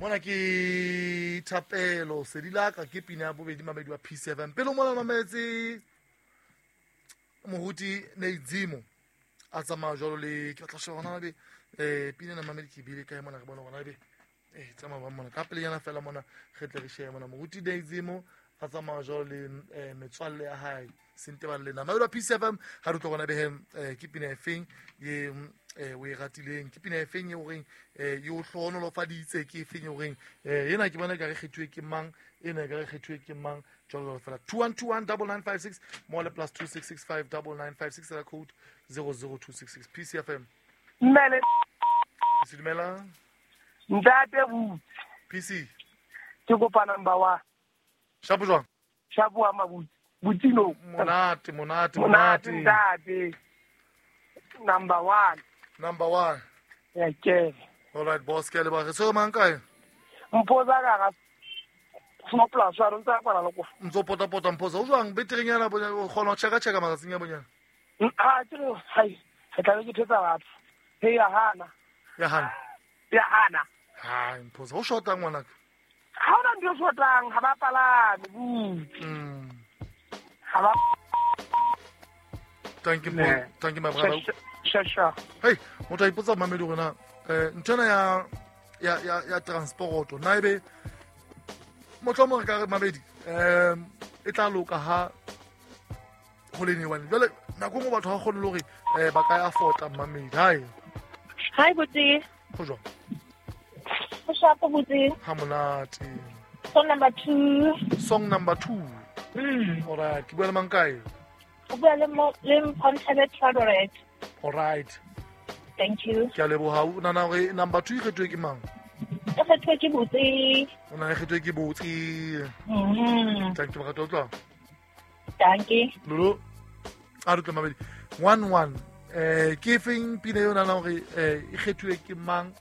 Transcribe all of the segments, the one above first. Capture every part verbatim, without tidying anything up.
Mona ke Thapelo Sedilaka ke pina ya bobedi mamedi wa P seven. Pele mona mametse moruti Neizimo a tsamaya jwalo le ke batla sheba hona be eh pina na mamedi ke bile kae mona re bona hona be eh tsamaya ba mona ka pele yana fela mona re tle re shebe mona moruti Neizimo a tsamaya jwalo le eh metswalle ya hae Sentebale le na mamedi wa P seven ha re tlo bona be eh ke pina e feng ye eh o e ratileng ke pina e feng e horeng eh yo hlohonolofaditse ke feng e horeng eh ena ke bona ka re kgethuwe ke mang ena ka re kgethuwe ke mang jwalo fela two one two one nine nine five six more le plus two six six five nine nine five six la code zero zero two six six P C F M. Mmele P C dumela ntate Butsi P C ke kopa number one. Shapo jwang? Shapo wa Mabutsi Butino monate monate monate ntate number one. Number one. Yeah, ke. All right, boss, ke le ba re so mang kae? Mphoza ka ga small plus wa ntsa kwala le go. Ntso pota pota Mphoza o jwang beterenyana bonya o kgona ho cheka cheka matsatsing a bonyana. Ha ke re hai, re tla be ke thetsa batho. Hey ya hana. Ya hana. Ya hana. Ha Mphoza o shota ngwana ka. Ha ona ntho shotang ha ba palame butsi. Mm. Ha ba. Thank you, ne. Thank you my brother. Sure, sure. Hey, motho a ipotsa mamedi hore na eh nthwena ya ya ya ya transport na ebe motho mo re ka re mamedi um e tla loka ha ho le newane jwale nako nngwe batho ha kgone le hore eh ba ka ya afford mamedi. Hi. Hi Butsi. Ho jwang? Ho shapo Butsi. Ha monate. Song number two. Song number two. Mm. All right, ke bua le mang kae? O bua le mo le Mpontsebe Tradoret. All right. Thank you. Ke a leboha. O nahana hore number two e kgethuwe ke mang? E kgethuwe ke Butsi. O nahana e kgethuwe ke Butsi. Mhm. Thank you morato utlwa. Thank you. Lolo. A re utlwe mamedi. one one. Eh ke feng pina eo nahana hore eh e kgethuwe ke mang?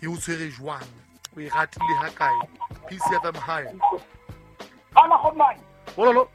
E o tshwere jwang? O e ratile ha kae? P C F M high. Ala go mang? Bololo.